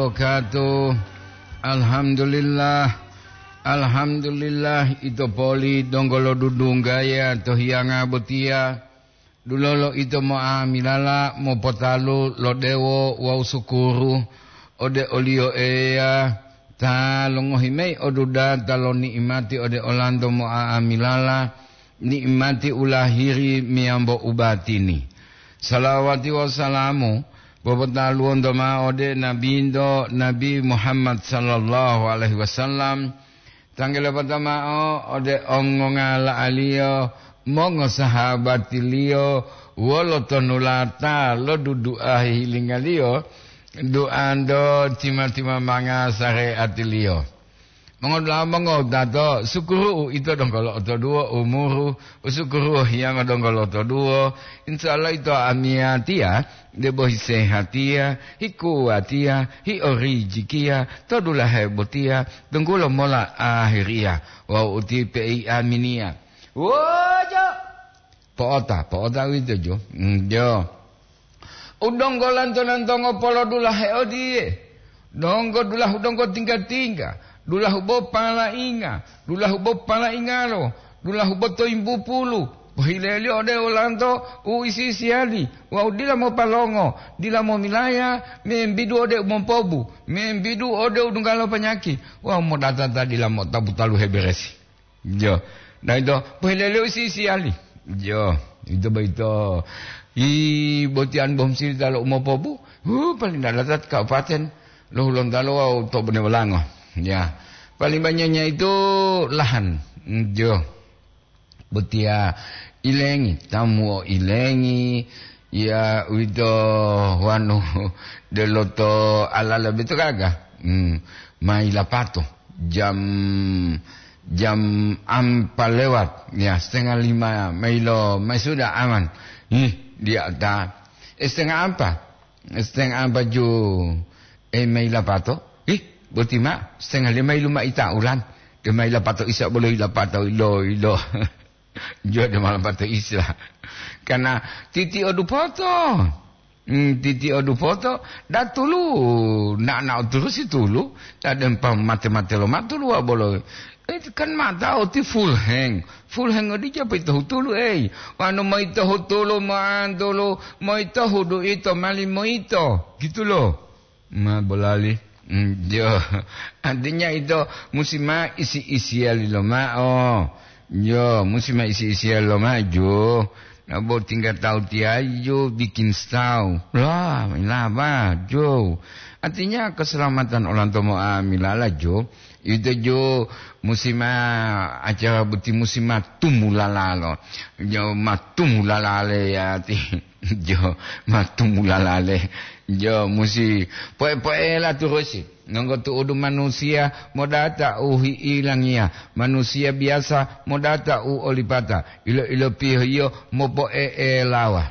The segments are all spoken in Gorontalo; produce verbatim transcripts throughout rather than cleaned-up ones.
Wabarakatuh. Alhamdulillah. Alhamdulillah, ito poli donggo lo dudunggaya to hiyanga botiya. Dulolo ito mo'amilala mopotalu lo dewo wawu sukuru ode oliyo Eya ta longohi mayi odudata lo ni'imati ode olanto mo'amilala, ni'imati u lahiri meyambo u batini. Salawati wawu salamu popotaluwonto ma'o ode Nabinto, Nabi Muhammad sallallahu alaihi wasallam, tanggelopata ma'o ode ongongala'aliyo, mongosahabatiliyo, wolo tonulata lo dudu'a hihilingaliyo, duanto tima-timamanga sareatiliyo. Mongodula'a mongowutato, sukuru'u ito donggo lo'otoduwo umuru, usukuru'u hiyanga donggo lo'otoduwo, insya Allah ito amiyatiya, debo hisehatiya, hikuwatiya, hiorijikiya, to dulahe botiya, tunggulo mola ahiriya, wawu uti pei aminiya. Wojo! Po'ota, po'ota uwito jo. Mm, jo. U donggo lanto-lantongo polodulahe odiye, donggo dulahu donggo tingga-tingga, dulahu bo palainga, dulahu bo palaingalo, dulahu bo toyimbupulu, pohileliyo ode olanto u isi-isiyali, wawu dila mopalongo, dila momilaya, membidu ode u mompobu, membidu ode u dungga lo panyaki, wawu modata ta dila motapu taluhe beresi. Jo. Nah, ito, pohileliyo isi-isiyali. Jo, ito boyito. Hi, botiyan bom sili talo umopobu. Hu, paling dalatat kabupaten lo Hulontalo wawu to Bonewolango. Ya. Paling banyaknya itu lahan. Jo. Botiya ilengi, tamu o ilengi, ya, uwito wanu deloto alala beto gaga. Hmm, mai lapato jam, jam ampa lewat, ya, setengah lima mailo, mai sudah aman. Ih, dia ta, eh, setengah ampa. Setengah ampa ju, eh, mai lapato. Ih, boti ma, setengah lima ilu ma ita ulan. Dia mai lapato isa bolo lapato ilo, ilo. Jo dia ma lapato isa. Karena titi odu poto. Hmm, titi odu poto, datulu, na, na turusi tulu, ta dempa mate-mate lo matulu wa bolo. Eh, kan mata oti full hang. Full hang odi japa ito hutulu, eh. Wanu ma ito hutulu, ma antulu, ma ito hudu ito, mali ma ito. Gitu loh. Ma bolali. Mm, jo. Artinya ito musi ma isi-isiyali lomao. Jo, musi ma isi-isiyali lomao, jo. Nabo tinggal tahu tiaju bikin stau. Lah, lah, bah, jo. Artinya keselamatan orang tomo amilala, jo. Ito jo musi ma acara boti musi ma tumulalalo. Jo, ma tumulalale ya ti. Jo, ma tumulalale. Jo, musi poe-poela turusi. Nonggo tu'udu manusiya modata u hi'ilangiya, manusiya biyasa modata u olipata, ilo-ilopiyohiyo mopo'e'elawa.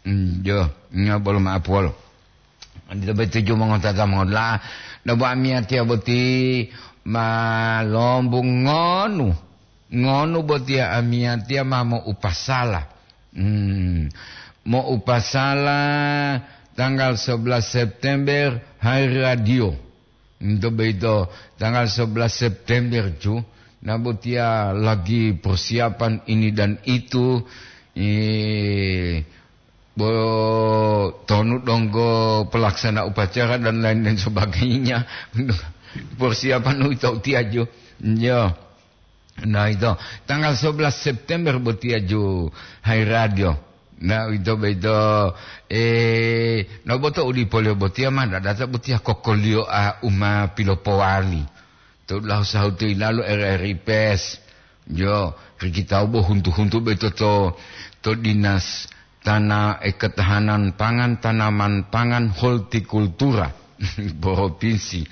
Mm, jo, nya bolo ma'apuwolo. Odito boyito ju mongotata mongoda'a, debo amiyatiya boti ma lombungonu, ngonu botiya amiyatiya ma mo'upasala. Hmm, mo'upasala tanggal sebelas September hari radio. Untuk begitu, tanggal sebelas September ju, na botiya lagi persiapan ini dan itu, eh, bo-, tonu donggo pelaksana upacara dan lain dan sebagainya. Persiapan itu tiaju. Ya. Nah, itu tanggal sebelas September botiya ju hai radio. Nah, itu begitu, eh, no boto udi polio botiya ma data botiya kokoliyo a uma pilopowali. To lahu sahutu ilalu R R I Pes. Jo, rikitau bo huntu-huntu beto to, to dinas tana-, eh, ketahanan pangan, tanaman pangan, hortikultura provinsi.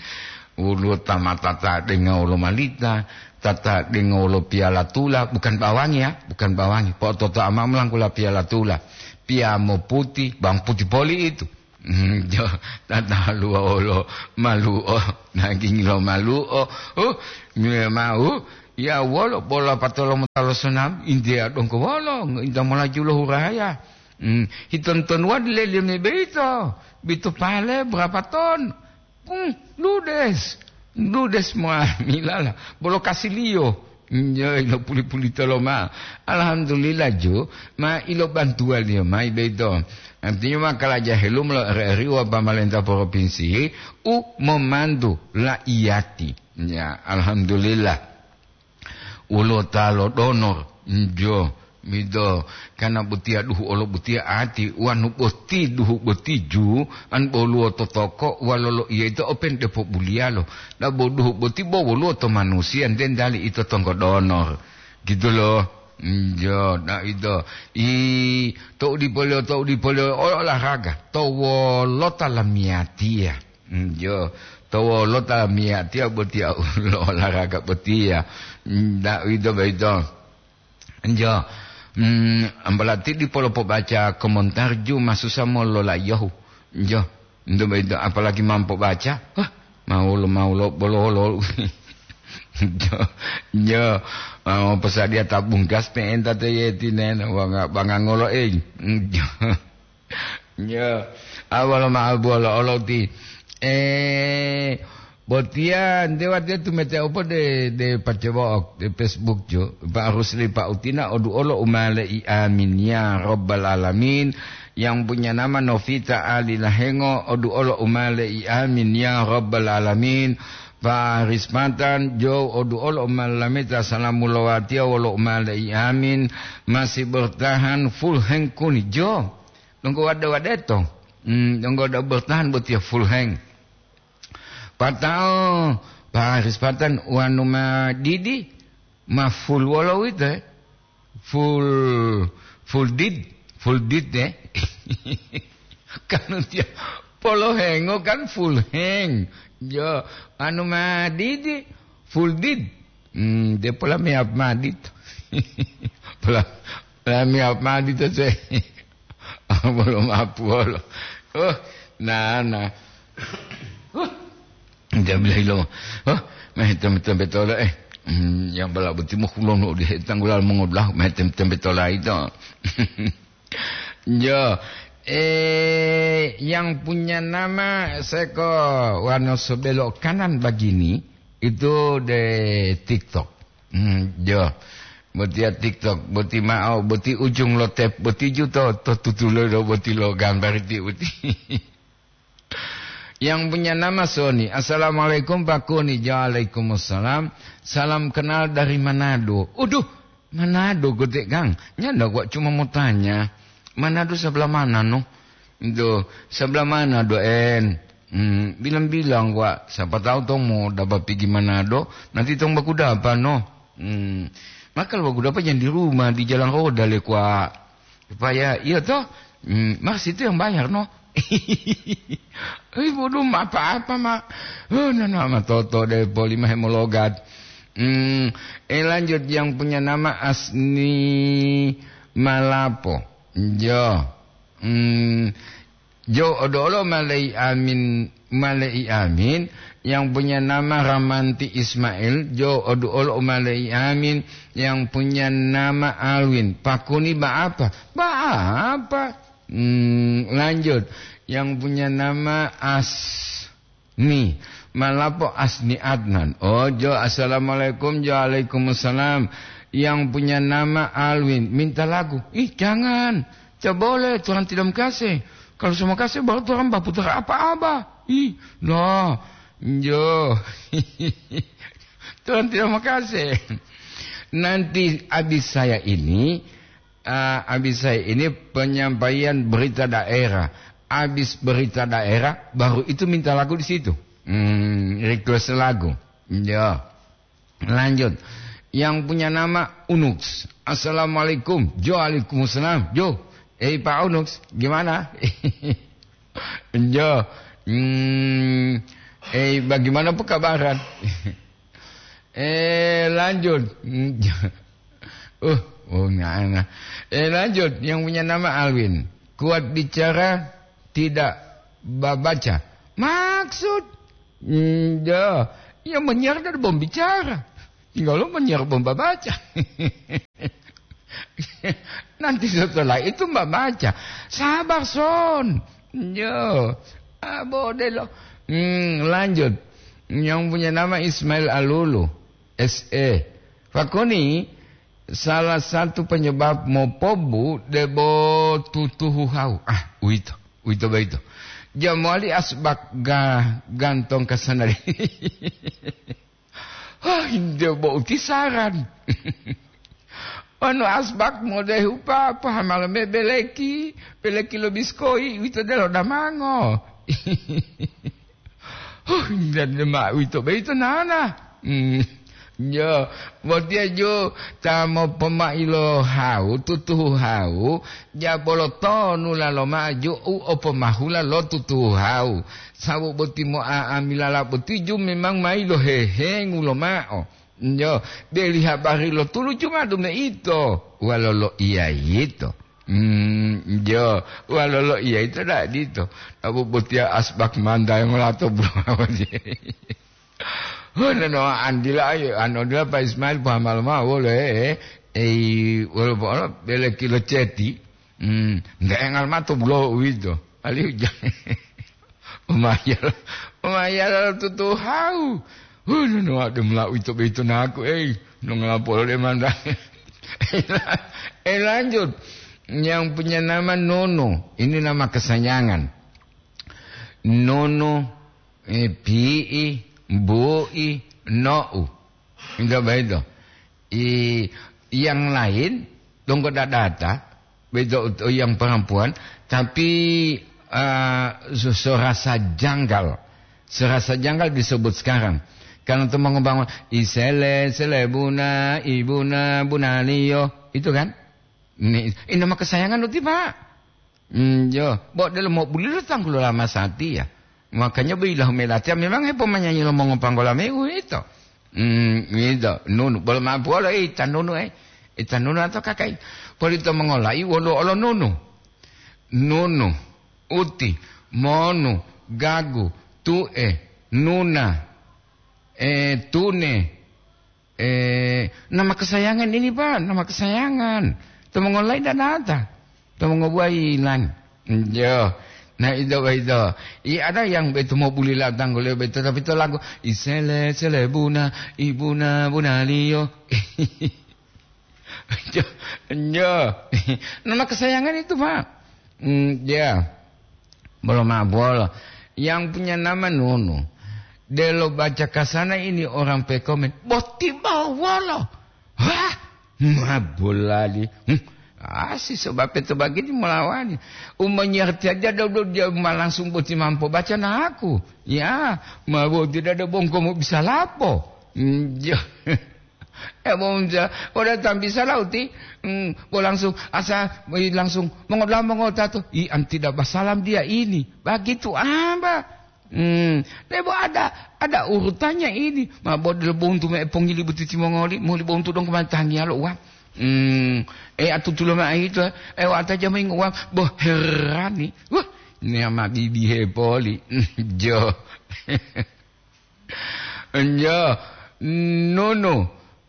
Woluwo ta ma tata denga wolo malita, tata denga wolo piyala tula, bukan bawangi ya, bukan bawangi. Po toto ama melangkula piyala tula, piya moputi, bang puti poli itu. Hmm, jo, tataluwa wolo malu'o, daging lo malu'o. Uh, memang, uh, ya wolo bola patolo motalo sonam, India dongko wolo, India melaju lo huraya. Hmm, hiton-tonuwa dileleme beito, bito pale berapa ton? Hmm, ludes. Ludes moamilala. Bolo kasiliyo. Njo, ilo puli-pulito loma. Alhamdulillah, jo. Ma ilo bantuwaliyo mayi boyito. Artinya ma kalaja helumo lo R R I wa pamalenta propinsi u momantu la'iyati. Ya, alhamdulillah. Woluwo ta lodonor, njo, mido, kana botiya duhu olo botiya ati, wanu boti duhu boti ju, an boluwo to toko, walo loiya ito open depo buliyalo. Dabo duhu boti bo woluwo to manusiya, nte ntali ito tonggo donor. Gitu lo. Njo, da ito. I, to udipoliyo, to udipoliyo, o-, olahraga. To wolota lamiyatiya. Njo, to wolota lamiyatiya botiya lo olahraga botiya. Nda uwito boyito. Njo, mm, ambalati dipolo pobaca komentar ju masusa molola'iyahu. Njo, nto boyito apalagi ma pobaca. Wah, mawulo, mawulo, bolo-bolo. Njo, njo, ah, posadiya tabung gas pe'enta to yeti nena, banga, banga ngolo, eh. Njo. Ya, awalo ma'abuwala oloti. Eh, botiya nte watiya tumete opo de, de pacewo'ok de Facebook jo. Pak Rusli, Pak Utina, odu'olo umale'i amin ya rabbal alamin. Yang punya nama Novita Ali Lahengo, odu'olo umale'i amin ya rabbal alamin. Pak Rispatan jo, odu'olo umalameta salamu lowatiya wolo umale'i amin. Masih bertahan full hand kuni jo. Donggo wade-wadeto. Hmm, donggo da bertahan botiya full hang. Patao Pak Haris Patan wanu ma didi, ma full wolo wito, eh? Full, full did, full did, eh? Kan dia polo hengo kan full hang. Jo, anu ma didi, full did. Hmm, dia pola me up ma dit. Pola, pola me up ma dit se. Bolo mapu bolo. Oh, nana. Oh, dia bilang lo. Oh, meh tembe-tembe tola, eh. Hmm, yang bala boti mo kulono di tanggulal mongodlah, meh tem-, tembe tola itu. Ya, eh, yang punya nama seko wano sebelok kanan begini, itu de TikTok. Hmm, ya. Botiya TikTok, boti ma'o, boti ujung lo tep, boti ju to, to tutulo do, boti lo gambari ti boti. Yang punya nama Sony. "Assalamualaikum, Pak Kuni." "Waalaikumsalam. Salam kenal dari Manado." Uduh, Manado gede, Kang. Nyanda gua cuma mau tanya, Manado sebelah mana, no? Itu sebelah mana, do en? Hmm, bilang-bilang gua, siapa tahu tong mau dapat pergi Manado, nanti tong baku dapat, no? Hmm, maka baku dapat yang di rumah, di jalan roda le, kwa. Supaya, iya toh? Hmm, Mas itu yang bayar, no? Ih, bodoh, apa-apa, Mak. Oh, nana, ma toto deh, poli mah hemologat. Hmm, eh, lanjut, yang punya nama Asni Malapo. Jo. Hmm, jo, odo-olo malei amin, malei amin. Yang punya nama Ramanti Ismail, jo, odo-olo malei amin. Yang punya nama Alwin, pakuni ba apa? Ba apa? Hmm, lanjut. Yang punya nama Asni. Malapo Asni Adnan. Oh, jo, assalamualaikum, jo, waalaikumsalam. Yang punya nama Alwin, minta lagu. Ih, jangan. Tidak boleh, Tuhan tidak mengkasih. Kalau semua kasih, baru Tuhan baputar apa-apa. Ih, no. Jo. Tuhan tidak mengkasih. Nanti habis saya ini, ah, habis saya ini penyampaian berita daerah. Habis berita daerah, baru itu minta lagu di situ. Hmm, request lagu. Ya. Lanjut. Yang punya nama Unux. "Assalamualaikum." Jo, "Waalaikumsalam." Jo, eh, Pak Unux, gimana? Jo, hmm, eh, bagaimana pekabaran? Eh, lanjut. Uh, oh, nggak enak. Eh, lanjut. Yang punya nama Alwin. "Kuat bicara, tidak babaca." Maksud? Hmm, ya. Ya, menyiar dari bom bicara. Tinggal lo menyiar bom babaca. Nanti setelah itu Mbak baca. Sabar, Son. Yo. Ah, bodelo. Hmm, lanjut. Yang punya nama Ismail Alulu, S E. Pakuni, salah satu penyebab mopobu debo tutuhu hau. Ah, uwito, uwito boyito. Jamowali asbak ga-, gantong kasanali. Hah, inde bo utisaran. Wonu asbak modehu pa, pahamalo me beleki, beleki lo biskoi, uwito delo damango. Huh, dende ma uwito boyito nana. Hmm. Yo, botiya ju ta mopomai lo hau, tutuhu hau, ja bolo tonu lalo maju u opomahula lo tutuhu hau. Sabu boti mo'a'amilala boti ju memang mayi lo hehengu lomao. Yo, deli habari lo tulu ju madu meito, walolo iya yito. Hmm, jo, walolo iya ito da dito. Nabu botiya asbak manta yang lato bro. Oh, no, no, andila ayo, anu dila Pak Ismail pahamal ma wolo, eh, eh, eh, wolo, wolo, bele kilo ceti. Hmm, nggak engal mato bulo uwito. Alihu ja-, Umayal, umayal tutu hau. Huh, nunu ade mula uwito boyito naku, ei, nongolapolo de mantane. Eh, lanjut. Yang punya nama Nono. Ini nama kesayangan. Nono, eh, pi'i, bu'i, no'u. Enggak begitu. I, yang lain, donggo dadata, begitu yang perempuan, tapi, eh, se-, serasa janggal. Serasa janggal disebut sekarang. Karena itu mau ngebangun, "Isele, selebuna, ibuna, bunaliyo." Itu kan? Ini, ini nama kesayangan uti, Pak. Hmm, yo, bo delo mobulilo tanggulo lama satiya. Makanya bo ilahu melatiya memang hepomanyanyi lo mongopanggola me uwito. Hmm, uwito. Nunu, bolo ma'o buwolo, eh, ita nunu, eh. Ita nunu atau kakai. Polito mongolai wolo olo nunu. Nunu, uti, monu, gagu, tu'e, nuna, eh, tune, Eh, nama kesayangan ini, Pak, nama kesayangan. Tomongolai danata. Tomongobuwa ilang. Yo. Nah, itu, itu. I ada yang betu mau buli latang gule betu, tapi itu lagu, "Isele, sele buna, ibuna, bunaliyo." Yo, yo. Nama kesayangan itu, Pak. Hmm, ya. Bolo ma'o bolo. Yang punya nama Nunu. Delo baca kasana ini orang pekomen. Boti bawolo. Wah, ma bolali. Hmm. Ah, si sebab itu begini melawani. Umanyarti aja dulu dia ma langsung boti mampu baca naku. Ya, ma boti dada bongko mau bisa lapo. Hmm, ya. Eh, bo ja, o datang bisa lauti, mm, bo langsung asa, eh, langsung mongoda'a mongotatu, "Ih, an tidak basalam dia ini." Begitu, ah, Mbak. Hmm, debo ada, ada urutannya ini. Ma bo delo bontu me pongili butiti mongoli, moli bontu dong kumantangi alo uang. Hmm, eh, atutulo ma itu, eh, wata jamai uang. Bo herani. Wah, ini ama bibi hepoli. Jo. Njo, nunu,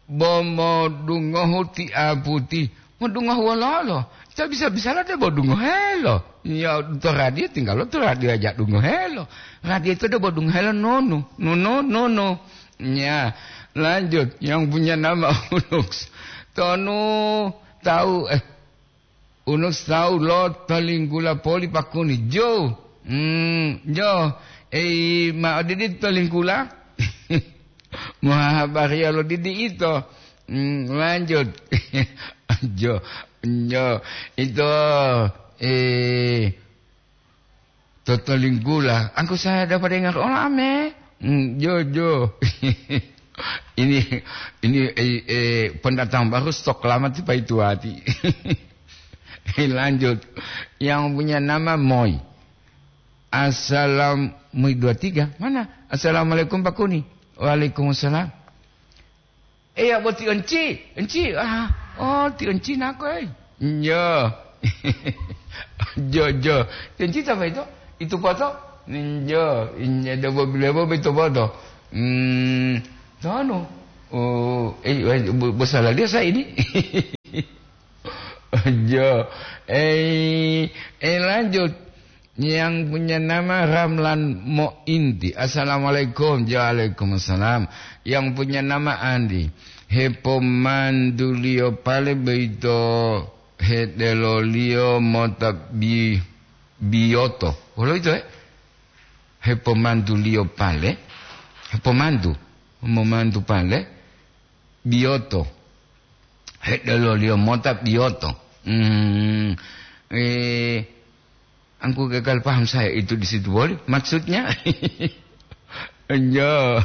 bo modungohu ti aputi. Modungohu wololo? Ta bisa-bisala debo dungohelo. Ya, to radio tinggal to radio aja dungohelo. Radio itu debo dungohelo nunu, nunu, nunu. Ya, lanjut. Yang punya nama Unux. Tonu tahu, eh, Unus tawu lo tolinggula poli pakuni. Jo. Hmm, jo. Ei, ma odidi tolinggula? Mohahabariya lo didi ito. Hmm, lanjut. Jo. Jo. Ito, eh, Totolinggula, angku saya dapat dengar olame. Hmm, jo, jo. Ini, ini, eh, eh, pendatang baru stok lama tiba itu hati. Lanjut. Yang punya nama Moy. Assalam, Moy dua tiga. Mana? Assalamualaikum, Pak Kuni. Waalaikumsalam. Eya, bo ti Enci, Enci, ah, oh, ti Enci nako, eh. Njo. Jo, jo. Ti Enci ta boyito? Itu poto? Njo, inyo do bo bilebo boyito poto. Hmm, tonu. Oh, eh, eh, bo, bo salah dia saya ini. Jo. Eh, eh, lanjut. Yang punya nama Ramlan Mointi. Assalamualaikum. Waalaikumsalam. Yang punya nama Andi. Hepomanduliyo pale boyito hedeloliyo mota bi-, biyoto. Wolo ito, eh? Hepomanduliyo pale. Hepomandu. Momandu pale. Biyoto. Hedeloliyo mota biyoto. Hmm. Eh, Angku gagal paham saya itu di situ, boleh? Maksudnya? Yo.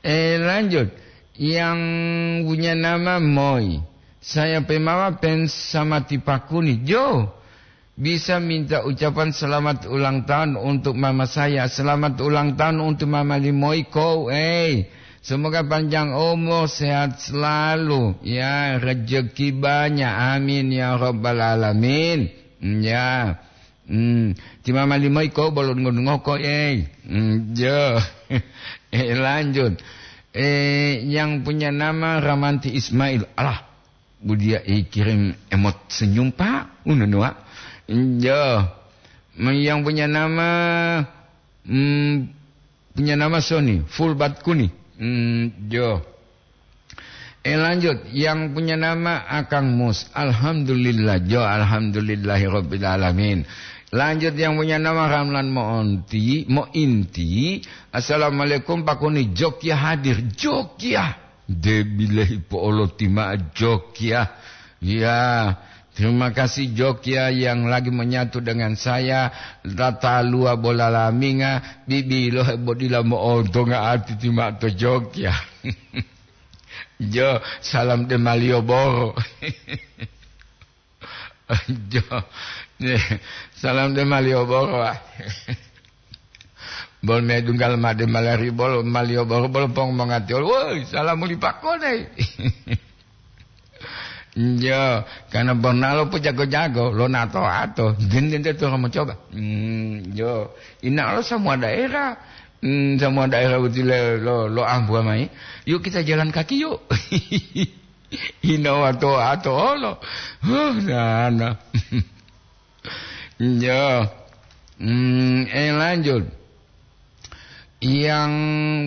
Eh, lanjut. Yang punya nama Moy. Saya pemawa pen sama tipakuni. Jo. Bisa minta ucapan selamat ulang tahun untuk mama saya. Selamat ulang tahun untuk mama Limoy ko. Eh, semoga panjang umur, sehat selalu. Ya, rezeki banyak. Amin ya rabbal alamin. Ya. Hmm, ti mama Limoy ko bolo dungo-dungo ko, eh. Hmm, jo. Eh, lanjut. Eh, yang punya nama Ramanti Ismail. Alah, bu dia, eh, kirim emot senyum, Pak. Uno nua. Jo. Yang punya nama, hmm, punya nama Sony, full bat kuni. Hmm, jo. Eh, lanjut, yang punya nama Akang Mus. Alhamdulillah, jo, alhamdulillahirabbil alamin. Lanjut, yang punya nama Ramlan Moonti, Mointi. Assalamualaikum, Pak Kuni, Jogja hadir. Jogja. Debilehi po'oloti ma'o Jogja. Ya, terima kasih Jogja yang lagi menyatu dengan saya. Tata lua bola laminga, bibilohe bodila mo'ontonga ati ti ma'o to Jogja. Jo, salam de Malioboro. Jo, salam de Malioboro, ah. Bol medunggal made malari bol Malioboro bol pong mongati ol. Woi, salam muli pakone. Jo, karena Bornalo po jago-jago, lo nato-ato. Den, den, den, to mau coba. Hmm, jo, ina lo semua daerah. Hmm, semua daerah betul lo, lo ambu mai. Yuk kita jalan kaki yuk. Hinawa to ato olo. Huh, nana. Ya. Hmm, eh, lanjut. Yang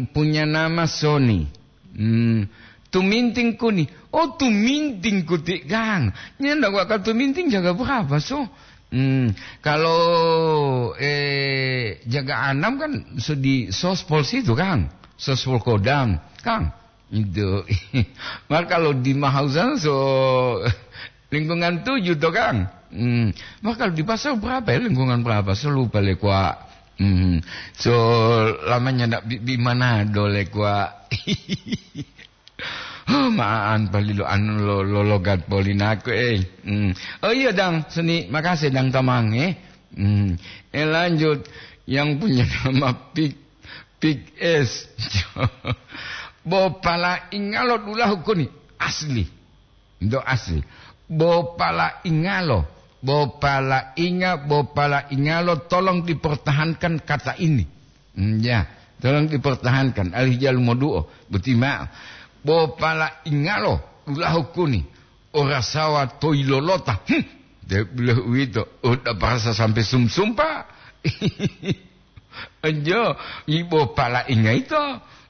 punya nama Sony. Hmm, tuminting kuni. Oh, tuminting kuti, Kang. Nyenda gua ka tuminting jaga berapa, so? Hmm, kalau, eh, jaga enam kan so di sospol situ, Kang. Sospol Kodam, Kang. Itu. Maka kalau di Mahausan so lingkungan tujuh to, Kang. Hmm. Maka kalau di pasar berapa ya? Lingkungan berapa? So lupa le kwa. Hmm. So lamanya ndak bi, bi mana do le kwa. Huh, maan palilo anu lo, lo logat polinaku, eh. Hmm. Oh iya, Dang Seni, makasih Dang Tamang, eh. Hmm. Eh, lanjut, yang punya nama Pik, Pik Es. Bo pala ingalo dulahu koni. Asli. Ndo asli. Bo pala ingalo. Bo pala inga, bo pala ingalo, tolong dipertahankan kata ini. Hmm, ya, tolong dipertahankan. Alih jalu moduo. Boti ma'o. Bo pala ingalo dulahu koni. Ora sawa toilolota. Hmm. De beliau uwito. Udah parasa sampai sumsum, Pak. Enjo, ibo pala inga ito,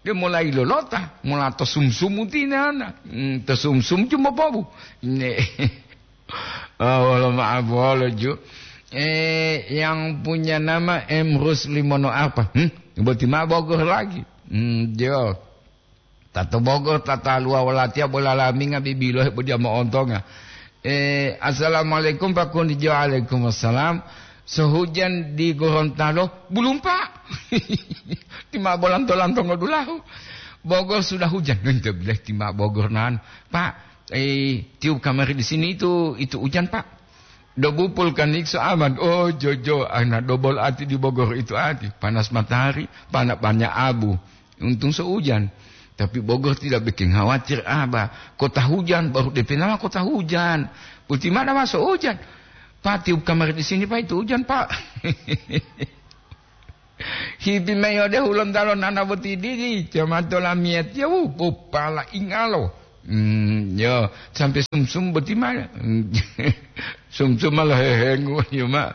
de mulai lolota, mula to sumsumu tinana. Hmm, to sumsum cuma bobu. Ne. Ah, wolo maaf, wolo ju. Eh, yang punya nama Emrus Limono apa? Hmm, boti ma Bogor lagi. Hmm, jo. Tato Bogor, tata luwa walatiya bola laminga bibilohe bodiya mo'ontonga. Eh, "Assalamualaikum, Pak Kunijo." "Waalaikumsalam." "Sohujan di Gorontalo?" "Bulumpa." Ti ma bolanto-lantongo dulahu. "Bogor sudah hujan." Ente bileh ti ma Bogor nan. "Pak, eh, tiup kamari di sini itu, itu hujan, Pak." Dobupul kanikso aman. Oh, jojo, ana dobol ati di Bogor itu ati. Panas matahari, pana banyak abu. Untung so hujan. Tapi Bogor tidak bikin khawatir, Aba. Kota hujan, baru D P nama kota hujan. Putih mana masuk hujan? Pak, tiup kamar di sini, Pak, itu hujan, Pak. Hipi mayi ode Hulontalo nana boti didi, jamato lamiyatiya, wu, bopala ingalo. Hmm, yo, sampai sumsum boti ma. Sumsum malah hehengu, yo ma.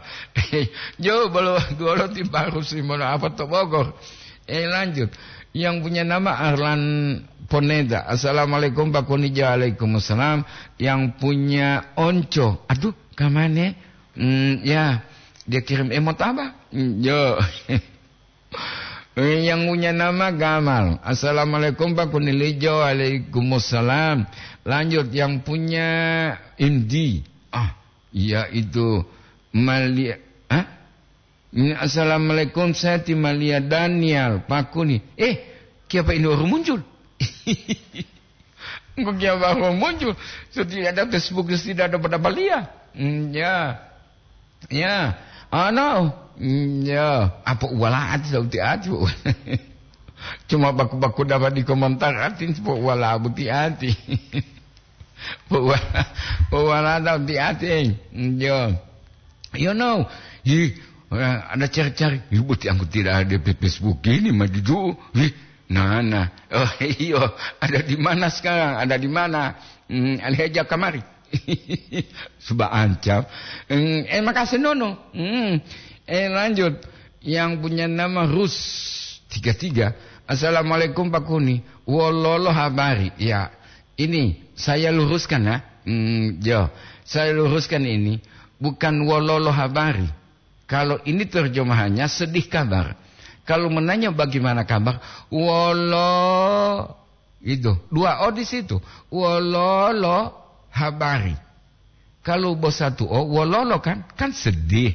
Yo, bolo duolo ti baru si mono apa to Bogor. Eh, lanjut. Yang punya nama Arlan Poneda. "Assalamualaikum, Pak Kuni." "Waalaikumsalam." Yang punya Onco. Aduh, kamane? Hmm, ya, dia kirim emot apa? Hmm, yo. Yang punya nama Gamal. "Assalamualaikum, Pak Kunilijo." "Waalaikumsalam." Lanjut, yang punya Indi. Ah, iya itu. Malia, ah? Ini, "Assalamualaikum, saya ti Malia Daniel, Pak Kuni." Eh, kiapa ini orang muncul? Engkau kiapa orang muncul? Sudah ada Facebook, sudah ada pada Malia. Hmm, ya. Ya, ano, mm, ya, apa uwala ati sauti ati, Bu? Cuma baku-baku dapat di komentar ati, apa uwala buti ati. Apa uwala, apa uwala sauti ati, eh. Mm, yo. You know, hi, eh, ada cari-cari, hi, buti aku tidak ada di Facebook ini, mah duduk. Hi, nah, nah. Oh, iyo, ada di mana sekarang? Ada di mana? Hmm, alih aja kamari. Suba ancam. Hmm, eh, makasih, Nono. Hmm. Eh, lanjut. Yang punya nama Rus tiga tiga. "Assalamualaikum, Pak Kuni. Wololo habari?" Ya, ini saya luruskan, ya. Hmm, yo, saya luruskan ini. Bukan wololo habari. Kalau ini terjemahannya sedih kabar. Kalau menanya bagaimana kabar, wolo, itu. Dua o di situ. Wololo habari. Kalau bosatu o, wololo kan, kan sedih.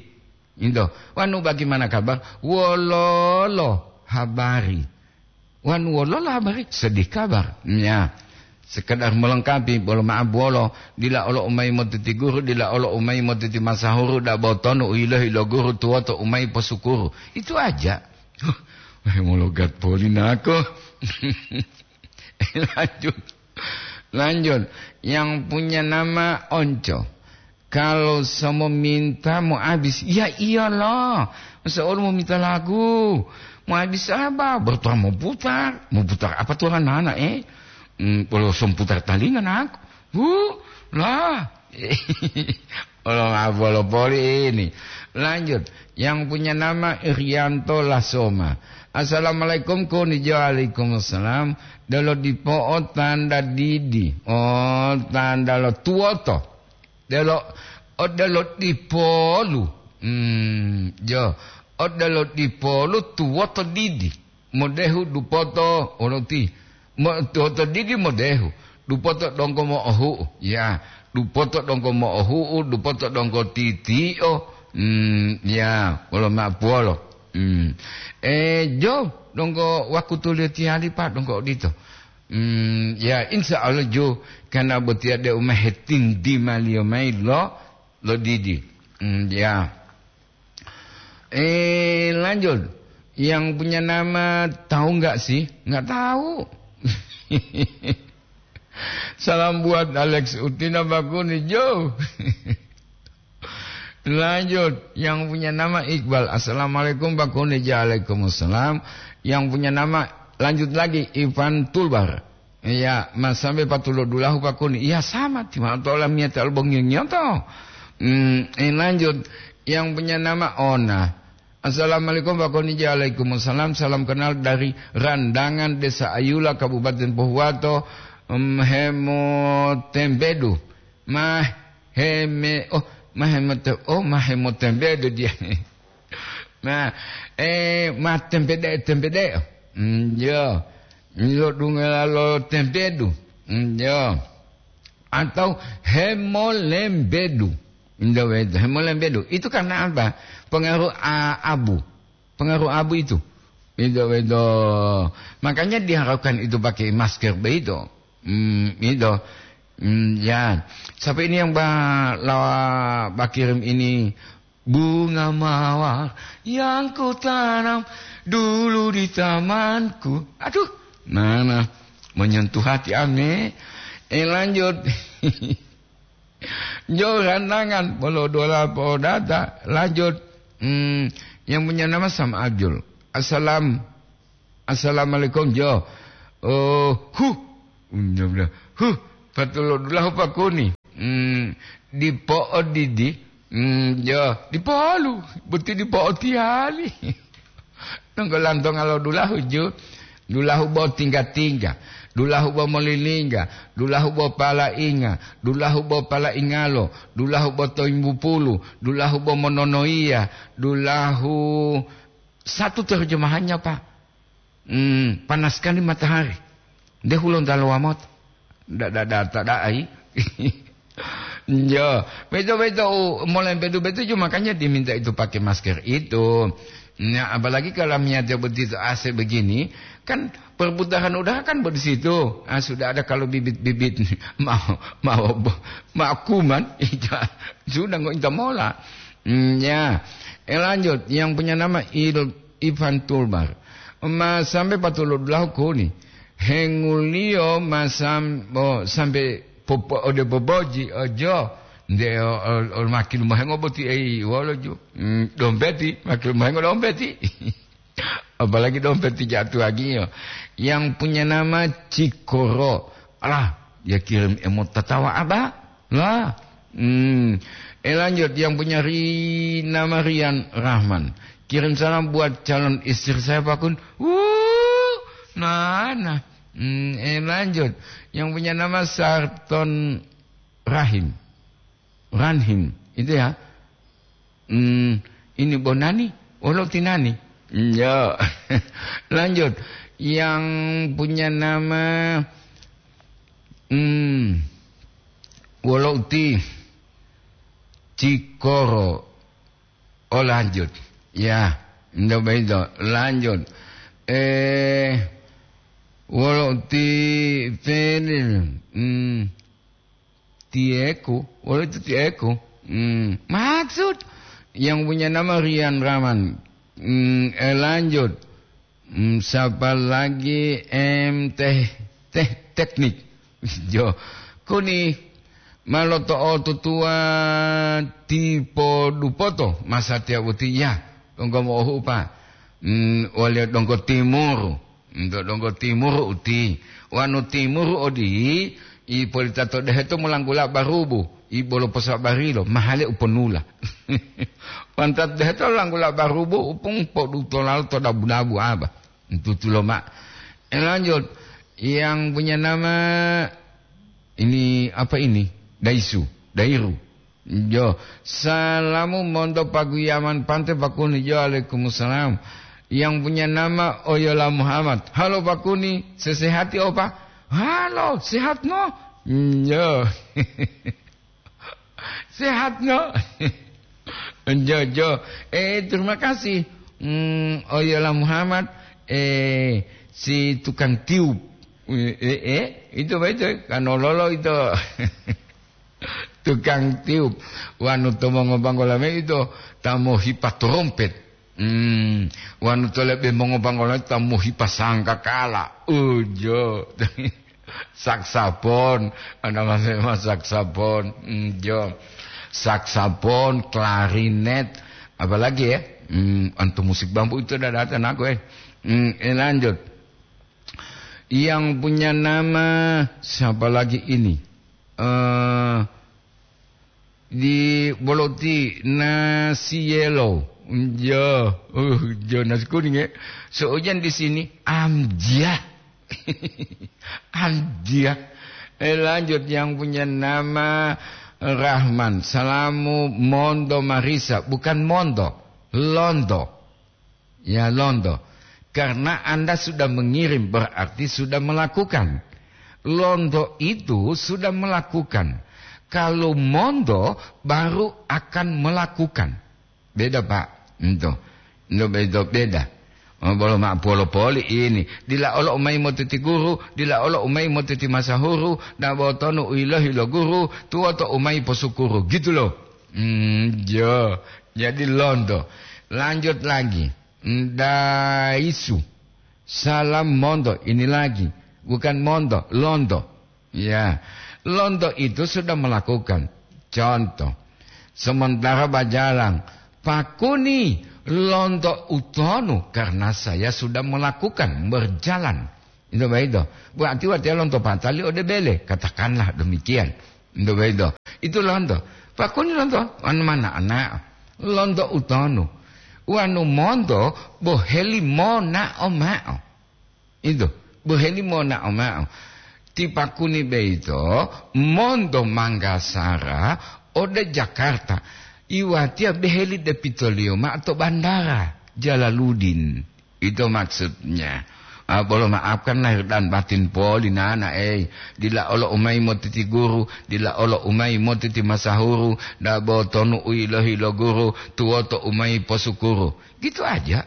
Itu. Wanu bagaimana kabar? Wololo habari. Wanu wololo habari? Sedih kabar. Ya. Sekedar melengkapi, bolo maaf bolo, dila olo umai motiti guru, dila olo umai motiti masahuru, da botonu uilohi lo guru tuwoto umai posukuru. Itu aja. Huh, wah, mologat poli nako. Lanjut. Lanjut. Yang punya nama Onco. Kalau samo minta mau habis, ya iyalah. Masa orang mau minta lagu? Mau habis apa? Bertuah mau putar. Mau putar apa tuh anak-anak, eh? Hmm, kalau som putar talinga, nak. Huh, lah. Kalau ngapa lo poli ini. Lanjut. Yang punya nama Irianto Lasoma. "Assalamualaikum, Kunijo." "Waalaikumsalam." Delo dipo o tanda didi. Oh, tanda lo tuwoto. Delo, odelo dipolu. Hmm, jo. Odelo dipolu tuwoto didi. Modehu dupoto oloti. Mo-, tuwoto didi modehu. Dupoto donggo mo'ohu'u. Ya, dupoto donggo mo'ohu'u, dupoto donggo titi'o. Hmm, ya, wolo ma'apuwolo. Hmm. Eh, jo, donggo wakutuliyo tiyali, Pak, donggo odito. Hmm, ya, insya Allah, jo, karena botiya deu ma hetindimaliyo mayi lo, lo didi. Hmm, ya. Eh, lanjut. Yang punya nama tahu nggak sih? Nggak tahu. Salam buat Alex Utina Bakuni, Jo. Lanjut, yang punya nama Iqbal. "Assalamualaikum, Pak Kuni." "Waalaikumsalam." Yang punya nama, lanjut lagi, Ivan Tulbar. Iya, mas sampai patulo dulahu, Pak Kuni. Iya, sama, timatola miyata albongiyo-ngiyoto. Hmm, eh, lanjut, yang punya nama Ona. "Assalamualaikum, Pak Kuni." "Waalaikumsalam, salam kenal dari Randangan, Desa Ayula, Kabupaten Pohuwato." Hmm, hemotembedu. Mah heme-, oh, mah hemote-, oh, mah hemotembedu dia. Nah, eh, mah tempede-, tempede. Hmm, yo. Yo dungela lo tembedu. Hmm, yo. Atau hemolembedu. Indo wedo, hemolembedu. Itu karena apa? Pengaruh a-, abu. Pengaruh abu itu. Indo wedo. Makanya diharapkan itu pakai masker begitu. Hmm, itu. Hmm, ya. Siapa ini yang ba-, lawa bakirim ini? "Bunga mawar yang ku tanam dulu di tamanku." Aduh, mana menyentuh hati ame. Eh, lanjut. Jauh randangan, bolo dola po data. Lanjut. Hmm, yang punya nama Sam Abdul. Assalam. Assalamualaikum, Jo. Oh, huh. Huh, patulodulahu pakuni. Hmm, dipo odidi. Hmm, yo, dipo olu. Boti dipo otiali. Nonggo lantonga lo dulahu ju. Dulahu bo tingga-tingga. Dulahu bo molilingga. Dulahu bo palainga. Dulahu bo palaingalo. Dulahu bo toimbupulu. Dulahu bo mononoiya. Dulahu satu terjemahannya, Pak. Hmm, panas sekali matahari. Nde hulonta lo wamoto. Nda, nda, nda, ta da'ai. Yo, beto, beto, u, molempetu beto ju, makanya diminta itu pakai masker itu. Nah, apalagi kalau niatnya begitu A C begini, kan perputaran udara kan di situ. Ah, sudah ada kalau bibit-bibit mau, mau, mau kuman, sudah nggak minta mola. Hmm, ya. Eh, lanjut, yang punya nama Il-, Ivan Tulbar. Ma sampai patulodulahu kuni. Henguliyo ma sam-, bo-, sampai popo-, ode boboji, ojo. Nde o, o, o, makin mohengo boti, ei, wolo ju. Hmm, dompeti, makin mohengo dompeti. Apalagi dompeti jatuh lagi, yo. Yang punya nama Cikoro. Alah, dia kirim emot tatawa, Abah. Lah. Hmm. Eh, lanjut, yang punya ri-, nama Rian Rahman. Kirim salam buat calon istri saya, Pakun. Wuh, nah, nah. Hmm, eh, lanjut. Yang punya nama Sarton Rahim. Ranhim, itu ya. Hmm, ini Bonani, wolo tinani. Hmm, ya. Lanjut. Yang punya nama, hmm, wolo uti Cikoro. Oh, lanjut. Ya, ndak begitu. Lanjut. Eh, wolo uti Fenil. Hmm. Tieku, wolo itu tieku. Hmm, maksud yang punya nama Rian Rahman. Hmm, eh, lanjut. Hmm, siapa lagi? M T, teh, teknik. Jo, kuni ma loto'otutuwa tipo dupoto masatiya boti ya, donggo mo'ohupa. Hmm, waliya donggo timuru. Nto donggo timuru uti, wanu timuru odiyi, ipolita to deheto molanggula barubu, ibolo posabarilo, mahale uponula. Wanta deheto langgula barubu, upung podutolalo to dabu-dabu aba. Ntutulo ma. Eh, lanjut. Yang punya nama ini, apa ini? Daisu, Dairu. Jo, salamu monto paguyaman pante pakuni. Jo, alaikumussalam. Yang punya nama Oyola Muhammad. Halo pakuni, sesehati opa? Halo, sehat no? Jo. Sehat no? Jo, jo. Eh, terima kasih. Hmm, Oyola Muhammad, eh, si tukang tiup. Eh, eh, eh, itu apa itu? Kanololo itu. Tukang tiup. Wanu to mongobanggola me ito, ta mohipa trompet. Hmm, wanu to lebe mongobanggola ta mohipa sangkakala. Ujo. Saksafon, ada mas, mas saksafon. Hmm, jo. Saksafon, klarinet, apalagi ya? Hmm, antu musik bambu itu udah datang aku, eh. Hmm, eh, lanjut. Yang punya nama siapa lagi ini? Eh, di boloti nasi yellow. Jo, uh, jo nasi kuning ya. Seojan di sini, amjah. Amjah. Eh, lanjut, yang punya nama Rahman. Salamu mondo marisa, bukan mondo, londo. Ya, londo. Karena Anda sudah mengirim, berarti sudah melakukan. Londo itu sudah melakukan. Kalau mondo, baru akan melakukan. Beda, Pak. Ento. Ento beda, beda. Oh, bolo ma polo poli ini. Dila olo umai motiti guru, dila olo umai motiti masahuru, dan botonu uilohi lo guru, tuwoto umai posukuru. Gitu loh. Hmm, jo. Jadi londo. Lanjut lagi. Ndaisu. Salam mondo. Ini lagi. Bukan mondo, londo. Ya. Londo itu sudah melakukan. Contoh. Sementara bajalan, pakuni londo utonu karena saya sudah melakukan, berjalan. Ito boyito. Berarti watiya lonto patali ode bele. Katakanlah demikian. Ito boyito. Itu lonto. Pakuni lonto. Anu mana anak. Lonto utonu. Wanu monto boheli monao mao. Ito. Boheli monao mao. Ti pakuni boyito monto Manggasara ode Jakarta. Iwatiya beheli depitoliyo mao to bandara Jalaludin. Itu maksudnya. Ah, bolo maafkan lahir dan batin poli nana, eh. Dila olo umai motiti guru, dila olo umai motiti masahuru, dabo tonu uilohi lo guru, tuwoto umai posukuru. Gitu aja.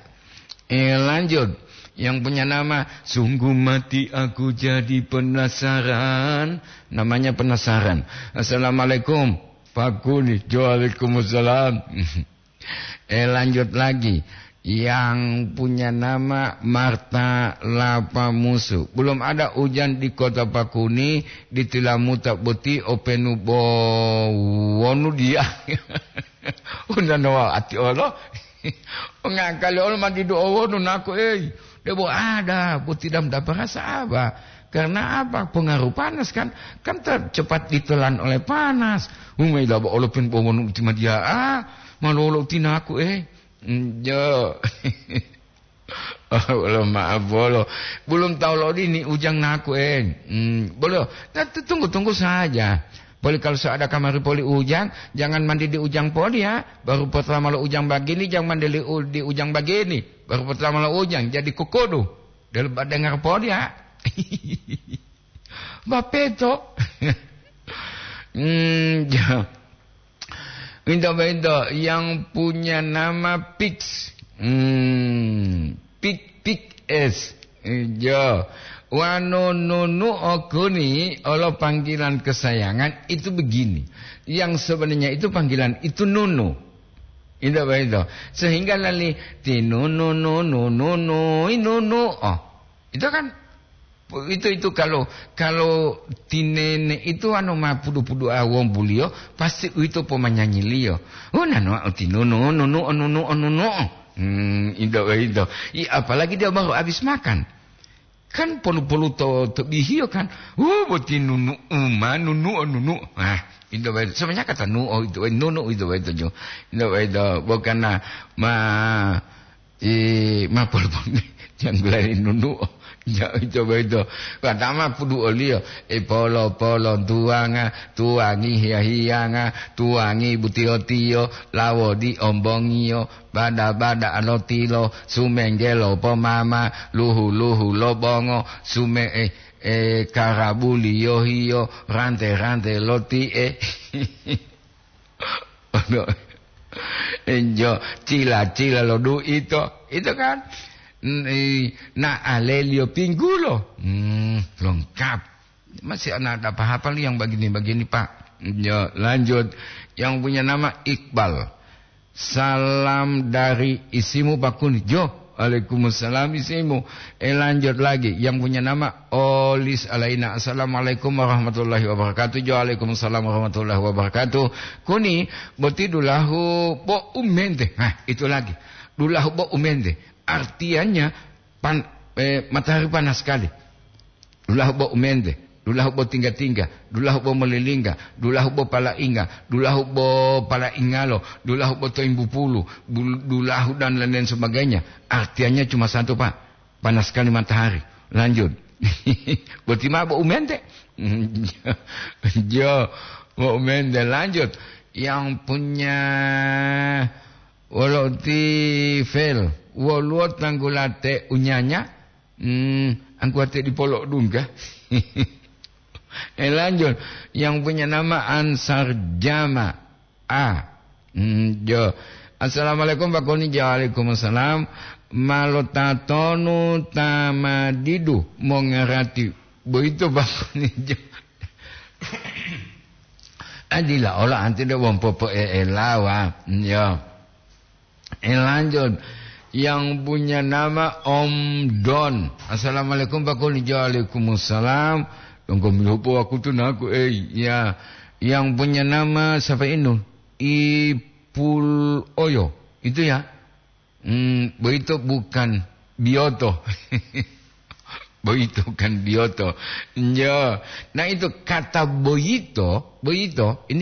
Eh, lanjut. Yang punya nama, sungguh mati aku jadi penasaran. Namanya penasaran. Assalamualaikum. Pakuni, waalaikumsalam. Eh, lanjut lagi. Yang punya nama Marta Lapamusu. Belum ada hujan di kota Pakuni, di Tilamuta boti openu bo wonu dia. Unanowa ati olo. Ngakali olo mandi do wonu naku, ei. Debo ada, boti dam daparasa apa? Karena apa? Pengaruh panas kan? Kan tercepat ditelan oleh panas. Umai laba olo pen bo wonu uti madia. Ah, malolo uti naku, eh. Mm, jo. Oh, bolo maaf, bolo. Belum tahu lo dini ujang naku, eh. Hmm, bolo. Nah, tu-, tunggu-tunggu saja. Poli kalau so ada kamari poli ujang, jangan mandi di ujang poli ya. Baru pertama lo ujang bagini, jangan mandi li u-, di ujang bagini. Baru pertama lo ujang, jadi kukudu. Dia lebat dengar poli ya. Bapeto. Hmm, ja. Minta-minta yang punya nama Pix. Hmm, Pik, Pik Es. Iya. Wanu nunu okuni olo panggilan kesayangan itu begini. Yang sebenarnya itu panggilan itu nunu. Itu begitu. Sehingga lali ti nunu, nunu, nunu, nunu. Oh, itu kan Itu, itu kalau, kalau tinene itu anu ma pudu-pudu awombuliyo, pasti uwito pomanyanyiliyo. Oh, nanu uti nunu, nunu, nunu, nunu. Hmm, indo, indo. I, apalagi dia baru habis makan. Kan polu-polu to, to bihiyo kan. Oh, boti nunu uma, nunu, nunu. Ah, indo, indo. Sebenarnya kata nu, oh, itu, nunu, itu, itu, jo. Indo, indo. Bukan na, ma, I, ma polu-polu janggulari nunu. Ja, coba itu. Watama pudu oliyo. E polo-polo tuwanga, tuwangi hiya-hiyanga, tuwangi butiyo-tiyo, lawodi ombongiyo, bada-bada alotilo, sumenggelo pomama, luhu-luhu lobongo, sume-, eh, eh, karabuliyo hiyo, rante-rante loti'e. Ono, enjo, cila-cila lo duito, itu kan? N-, i, na aleliyo pinggulo. Hmm, lengkap. Masih ada apa-apa yang begini-begini, Pak. Yo, lanjut. Yang punya nama Iqbal. Salam dari isimu, Pak Kuni. Jo, waalaikumsalam isimu. Eh, lanjut lagi. Yang punya nama Olis Alaina. Assalamualaikum warahmatullahi wabarakatuh. Jo, waalaikumsalam warahmatullahi wabarakatuh. Kuni, boti dulahu bo umente. Nah, itu lagi. Dulahu bo umente. Artinya, pan-, eh, matahari panas sekali. Dulahu bo umente, dulahu bo tingga-tingga, dulahu bo molilingga, dulahu bo palainga, dulahu bo palaingalo, dulahu bo toimbupulu, bul-, dulahu dan lain-lain sebagainya. Artinya cuma satu, Pak. Panas sekali matahari. Lanjut. Boti ma bo umente. Jo, bo umente. Lanjut. Yang punya wolo ti fel. Woluwo tanggulate unyanya. Hmm, angkuwate dipolo dungga. Eh, lanjut. Yang punya nama Ansar Jama. A. Hmm, jo. Assalamualaikum, Pak Kuni. Waalaikumsalam. Malo tatonu tamadidu mongarati. Boyito, Pak Kuni. Jo. Adila ola anti de wong popo e elawa. Hmm, jo. Eh, lanjut. Yang punya nama Om Don. Assalamualaikum, Pak Kuni. Waalaikumsalam. Donggo milopo wakutu naku, eh, ya. Yang punya nama siapa ini? Ipul Oyo. Itu ya. Hmm, boyito bukan Biyoto. Boyito kan biyoto. Njo. Nah, itu kata boyito, boyito ini